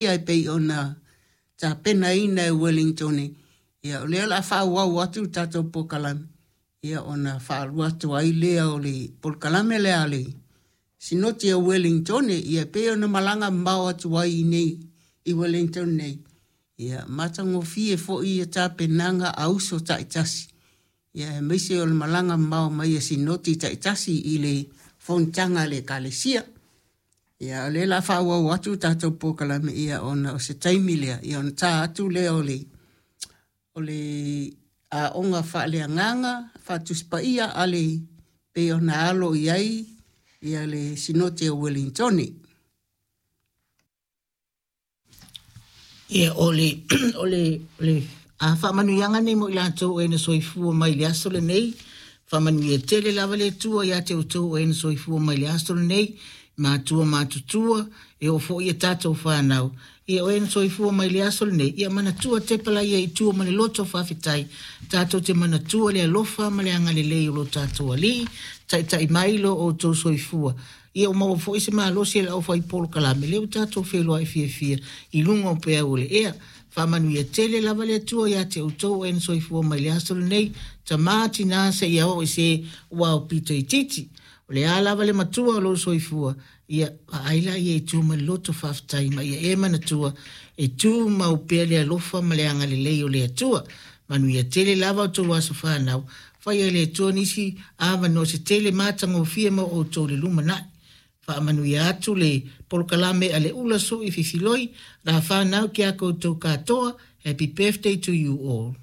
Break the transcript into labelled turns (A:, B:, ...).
A: E pei ona tapenaina e Uelintone, ia o lea o le a faaauau atu le tatou polokalame, ia ona faalua atu ai lea o le polokalame lea a le Sinoti a Uelintone, ia e pei ona malaga mamao atu ai i inei i Wellington nei, ia matagofie foi ia tapenaga a uso taitasi, ia aemaise o le malaga mamao mai a Sinoti taitasi i le fonotaga a le Ekalesia. Ia o lea o le a faaauau atu le tatou polokalame ia ona o se taimi lea ia ona ta atu lea o le o le aoga faaleagaga faatusi paia a le pei ona alo i ai ia le Sinoti a Uelintone.
B: Ia, o le, o le, o le a faamanuiaga nei mo i latou o e na soifua mai i le aso lenei. Faamanuia tele lava le Atua ia te outou o e na soifua mai i le aso lenei, matua matutua, e oo foi i a tatou fanau. Ia, o e na soifua mai i le aso lenei, ia manatua tepa laia i tua ma le loto faafetai. Tatou te manatua le alofa ma le agalelei o lo tatou Alii, taitai mai lo outou soifua. Ia ua maua foi se malosi e le aufai polokalame, lea ua tatou feiloai fiafia i luga o peau o le ea. Faamanuia tele lava le Atua ia te outou o e na soifua mai le aso lenei, tama, tina, seia oo i se ua aupito itiiti. O le a lava le matua o lou soifua, ia vaai laia i tua ma le loto faafetai ma ia e manatua e tumau pea le alofa ma le agalelei o le Atua. Manuia tele lava outou aso fanau, Faia e le Atua nisi avanoa se tele matagofie mo outou i le lumanai. Faamanuia atu le polokalame a le Ula Sui Fifiloi, la fanau ki a koutou katoa, Happy birthday to you all.